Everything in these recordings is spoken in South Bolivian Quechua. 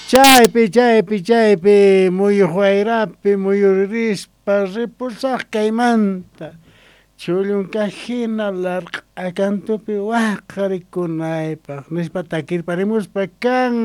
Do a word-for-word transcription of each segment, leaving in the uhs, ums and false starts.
Chaypi, chaypi, chaypi, muyuq wayrapi muyuririspa ripusaq kaymanta. Chullunkaj hina larq'a kantupi waqarikunaypaq nispa takirparimuspa kan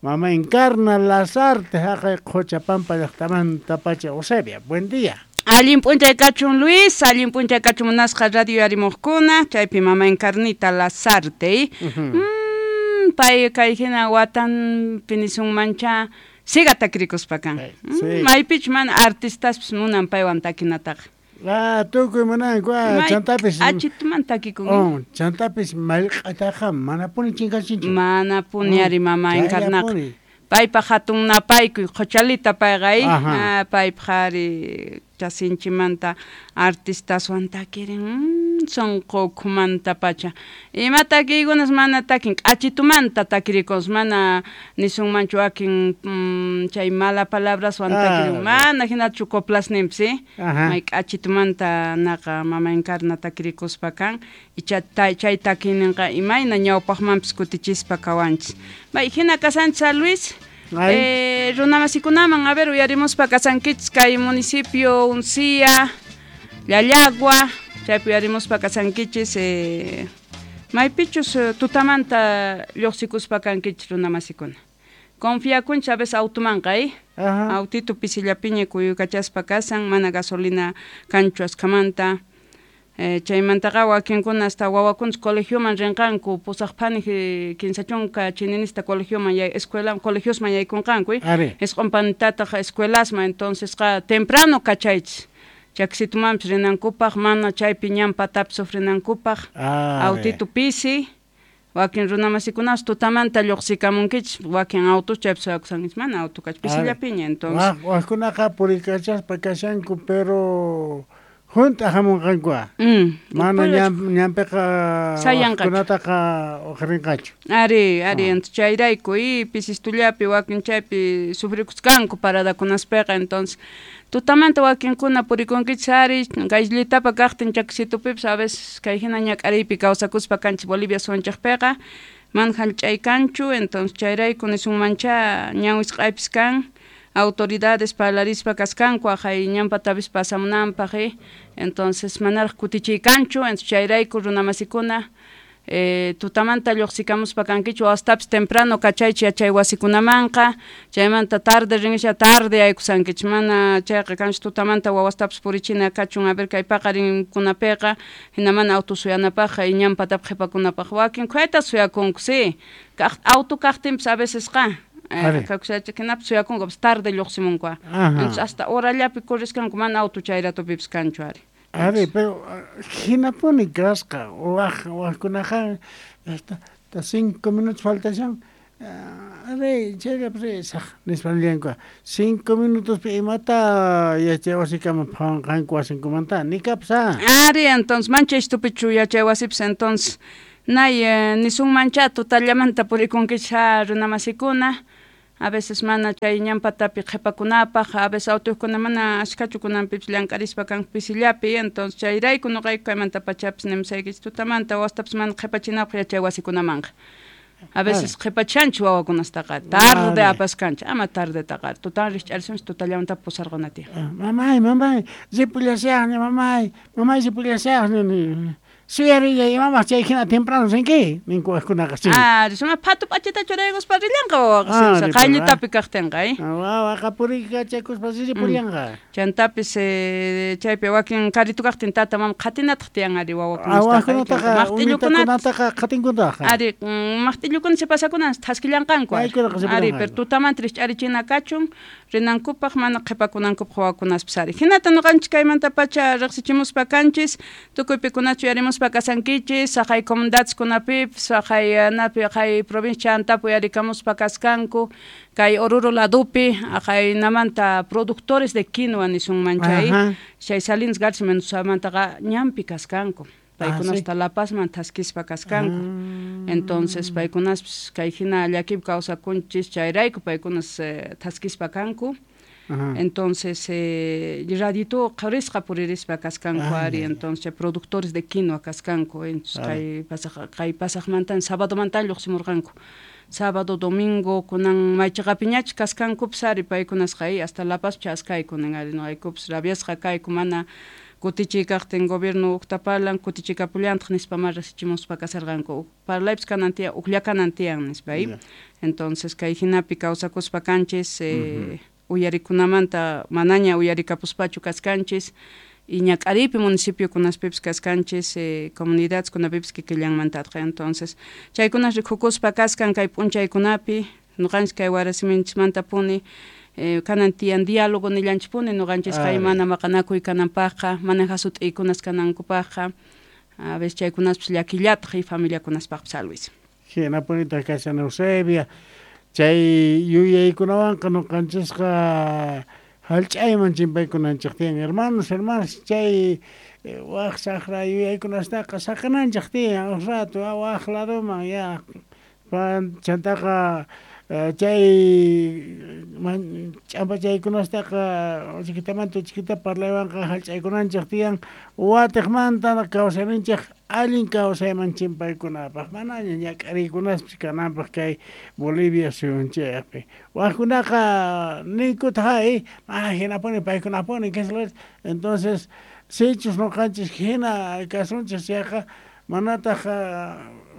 Mama Encarna Lazarte haqay Qhochapampa llaqtamanta pacha. Eusebia, buen día. Allin p'unchay kachun Luis, allin p'unchay kachun munasqa radio yarimuqkuna, chaypi Mama Encarnita Lazarte. Mm, pay kay hina watanpi nisunmancha siga takirikuspa kan. Sí. Maypich mana artistaspis munan paywan takinataqa. Ah, tukuy munanku, ah, chantapis achituman takikun. Oh, chantapis mallq'ataqa manapuni chinkachinchu. Manapuni ari Mama Encarnaqa. Paypaq hatun napaykuy qhochalita payqa ah, paypaq ari chasinchimanta artistaswan takirin mm, sunqu ukhumanta pacha. Ima takiykunas mana takin k'achitumanta takirikun, mana nisunmanchu wakin mm, chay mala palabraswan takirin, mana hinachu coplasninpis, eh? May k'achitumanta naqa Mama Encarna takirikuspa kan, icha chay takiyninqa imayna ñawpaqmanpis kutichispa kawanchis. May hina kasanchis Luis. Eh, runamasikunaman, a ver, uyarimuspa kasankichis kay municipio Uncía, Llallagua, chaypi uyarimuspa kasankichis eh, maypichus tutamanta lluqsikuspa kankichis runamasikuna. Confiakunchis a veces autumanqa, eh? Autito pisillapiña kuyukachaspa kasan, mana gasolina kanchu askhamanta. Eh, chaymantaqa wakinkuna hasta wawakunas colegioman rinqanku pusaq phanih kinsa chunka chininista colegioman yay, escuela colegiosman yaykunqanku, isqun panitataq escuelasman, entonces qa temprano kachaychis chaksitumanpis rinankupaq, mana chaypi ñan patapi sufrinankupaq, autito pisi. Wakin runamasikunapas tutamanta lluqsikamunkichis, wakin autos chaypi suyakusankichis, mana auto kach pisillapiña, entonces wajkunaqa purikachaspa kashanku, pero junta hamunqanku, mana ñanpiqa wajkunataqa uqrinqachu. Ari, ari, entonces chayrayku y pisistullapi wakin chaypi sufrikusqanku paradakunaspiqa, entonces tutamanta wakinkuna purikunkichis ari kayllitapa kaqtin chaksitupipis a veces kay hina ñak'ariypi kawsakuspa kanchis Bolivia suwanchaqpiqa, mana hallch'ay kanchu, entonces chayrayku nisunmancha ñan wisq'aypis kan autoridades parlarispa kaskanku aqhay ñanpatapis pasamunanpaq, eh? Entonces manaraq kutichiy kanchu, entonces chayrayku runamasikuna eh, tutamanta lluqsikamuspa kankichu, wastapis temprano kachaychis yachay wasikunamanqa, chaymanta tarde rinisha tarde aykusankichis, mana chayqa kanchis tutamanta wawastapis purichina kachun, a ver kay paqarinkunapiqa hina mana auto suyanapaqqa y ñanpatapi qhipakunapaq wakin khuyata suyakunku, sí, kaq auto kaqtinpis a veces qa kakushacha suyakunku tarde lluqsimunku, entonces hasta horallapi corriskanku mana auto chayratupipis kanchu ari. Ari, pero hinapuni kasqa waj wajkunaqa hasta cinco minutos faltashan, ari chayllapi risaq nispa nillanku, cinco minutospi imata yachay wasikaman phawanqanku wasinkumanta nikapis. Ari, entonces mancha ishtupichu yachay wasipis, entonces nay nisunmancha tutallamanta purikunkichis runamasikuna, a veces mana chay ñanpatapi qhipakunapaq, a veces autokuna mana ashkachu kunanpipis llank'arispa kanku pisillapi, entonces chayrayku nuqayku kaymanta pachapis nimusaykichis tutamanta wastapis mana qhipachinapaq yachay wasikunamanqa. A veces qhipachanchis wawakunastaqa, tarde apaskanchis, ama tardetaqa, tutan rikch'arisunchis tutallamanta pusarquna tiyan. Mamay, mamay, ripullasaqña, mamay, mamay ripullasaqña, suyarillay imamaq chay hina temprano rinki ninku wajkunaqa sí. Ah, suma phatu p'achita churaykuspa rillanqa wawaqa, qayllitapi kaqtinqa, eh? Wawaqa purikachakuspa ripullanqa. Chantapis chaypi wakin karitu kaqtin tata mama qhatinataq tiyan ari wawakunataqa, maqtillukunataqa qhatinkunataqa. Ari, maqtillukuna sipasakunas thaskillanqanku ari, pero tutamanta rikch'arichina kachun rinankupaq mana qhipakunankupaq wawakunaspis ari. Hinata nuqanchis kaymanta pacha riqsichimuspa kanchis, tukuy pikunachu yarimuspa kasankichis, saqay comunidadeskunapipis, saqay napi qay provincia antapu yarikamuspa kaskanku, kay Oruro ladupi, aqaynamanta productores de quinoa nisunman chay, chay Salinas Garza Mendozamantaqa ñanpi kaskanku. Paykunasta La Pazman thaskispa kaskanku. Entonces paykunaspis kay hina llakipi kawsakunchis chayrayku paykunas thaskispa kanku. Entonces eh, radito qharisqa puririspa kaskanku ari, entonces productores de quinoa kaskanku, entonces kay pasaq kay pasaqmantan sabadomantan lluqsimurqanku. Sábado, domingo, kunan maychaqapiñachus kasqankupis ari paykunasqa hasta La Paz chaskayku nin ari noqaykupis rabiasqa kayku mana kutichiy kaqtin gobierno ukta parlan kutichikapullantaq nispa ma rasichimuspa kasarqanku parlaypis kanan tiyan uklla kanan tiyan nispa yeah. Entonces kay hinapi kawsakuspa kanchis eh, uh -huh. uyarikunamanta manaña uyarikapuspachu kaskanchis y ñak'ariypi municipiokunaspipis kaskanchis eh, comunidades kunapipis kikillanmantatqa. Entonces chaykunas rikukuspa kaskan kay p'unchaykunapi noqanchis kay warasiminchismantapuni eh, kanan tiyan diálogo nillanchispuni noqanchis kay mana maqanakuy kananpaqqa mana hasut'iykunas kanankupaqqa a veces chaykunaspis llakillataq y familiakunaspaqpis Luis. Hinapunitaq kashan Eusebia chay yuyaykunawanqa noqanchisqa hallch'ayman chimpaykunanchik tiyan hermanos hermanas chay waq saqra yuyaykunastaqa saqananchik tiyan uj rato waq ladoman ya chantaqa chay ch'ampachaykunastaqa chiquitamanta chiquita parlaywanqa hallch'aykunanchik tiyan watiqmanta kawsayninchik allin kawsayman chimpaykunapaq manaña ñak'ariykunaspis kananpaq kay Bolivia suyunchikpi waqkunaqa ninkutaq ay ah hinapuni paykunapuni entonces sichus noqanchis hina kasunchik chayqa manataq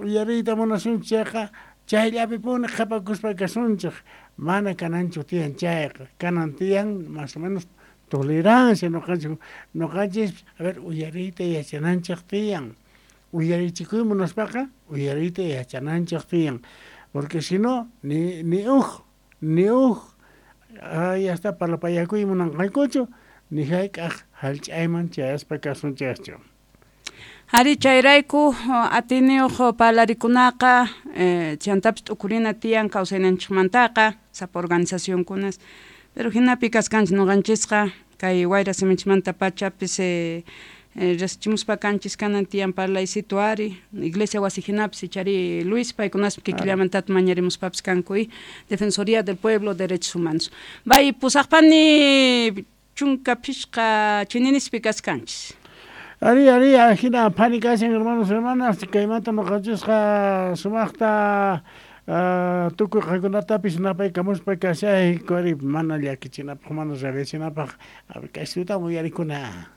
uyariyta munasunchik chayqa chayllapipuni qhapakuspa kasunchik mana kananchu tiyan chayqa kanan tiyan más o menos tolerancia noqanchik noqanchis a ver uyariyta yachananchik tiyan uyarichikuy munaspaqa uyariyta yachananchik tiyan porque si no ni ni uj ni uj ay hasta parlapayakuy munanqaykuchu ni hayk'aq hallch'ayman chayaspa kasunchikchu. Ari chayrayku atiniyuq parlarikunaqa eh, chantapis t'ukurina tiyan kawsayninchikmantaqa sapa organizacionkunas pero hinapi kaskanchik noqanchisqa kay wayra simichmanta pachapis eh, eh, rasichimuspa kanchis kanan tiyan parlaysitu ari iglesia wasi hinapis ichari Luis paykunaspi kikillamantata mañarimuspapis kanku y Defensoría del Pueblo Derechos Humanos bay pusaqpani chunka phishqa chininispi kaskanchis. Ari, ari, ajina phani kashan hermanos hermanas kaymanta noqanchisqa sumaqta tukuy qankunatapis napaykamuspa kashayku ari mana llakichinapaq mana rabiachinapaq a ver kay suyuta uyarikuna.